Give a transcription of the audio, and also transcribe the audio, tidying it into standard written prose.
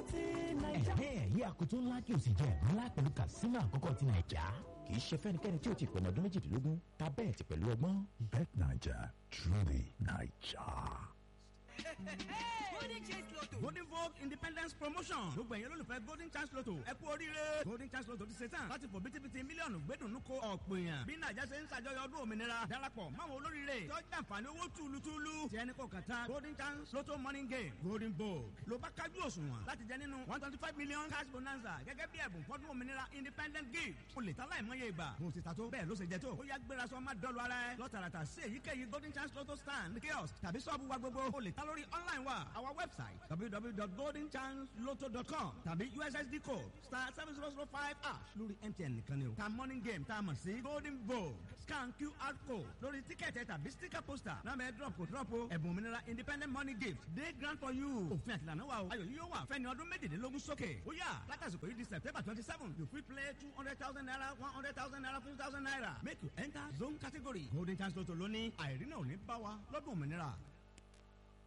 Ẹ̀hẹ́n, yí akoto ńlá kí o sì jẹ ẹ̀bùn ńlá pẹ̀lú kàsínà àkọ́kọ́ ti Nàìjà. Kì í ṣe fẹ́nikẹ́ni tí ó ti pẹ̀lú ọdún 18 ta bẹ́ẹ̀ ti pẹ̀lú ọgbọ́n. Bet Naija, truly Naija. Golden Chance Lotto. Golden Vogue Independence Promotion. Gbogbo ẹ̀yin olólùfẹ́ Golden Chance Lotto. Ẹ kú oríire. Golden Chance Lotto ti ṣe tán láti fò bítíbitì mílíọ̀nù gbẹ́dùnú ko ọ̀pọ̀ èèyàn. Bí Nàìjà ṣe ń ṣàjọyọ̀ ọdún òmìnira. Darapọ̀ máwọn olóríire. Tọ́jú àǹfààní owó túlutúlu. Ti ẹni kò kàn tán. Golden Chance Lotto Morning Game. Golden Vogue. Ló bá kájú òṣùwọ̀n láti jẹ nínú 125 million cash bonanza gẹ́gẹ́ bí ẹ̀bùn fọ́dún òmìnira independent gift. O lè ta láìmọye ìgbà. Mo ti ta tó. Bẹ́ẹ̀ ló ṣe jẹ tó. Ó yá, gbéra sọ má dọ́lu ara ẹ. Lọ tààràtà sí èyíkéyìí Golden Chance Lotto stand, kiosk tàbí ṣọ́ọ̀bù wa gbogbo. O lè ta lórí online wa, our website www.goldenchancelotto.com tàbí USSD code *7005# lórí MTN nìkan ni o. Ta morning game tá a mọ̀ sí Golden Vogue, scan QR code lórí tíkẹ̀tì tàbí sticker poster náà bẹ́ẹ̀ drop kò drop o. Ẹ̀bùn òmìnira independent money gift dey grant for you. Òfin àtìlànà wa o. Ayọ̀ yìí yóò wà fẹ́ni ọdún 18 sókè. Ó yá, látàsìkò yìí di September 27, you fit play ₦200,000, ₦100,000, ₦50,000. Make you enter zone category. Golden Chance Lotto lónìí, àìrí náà ò ní bá wa lọ́dún òmìnira.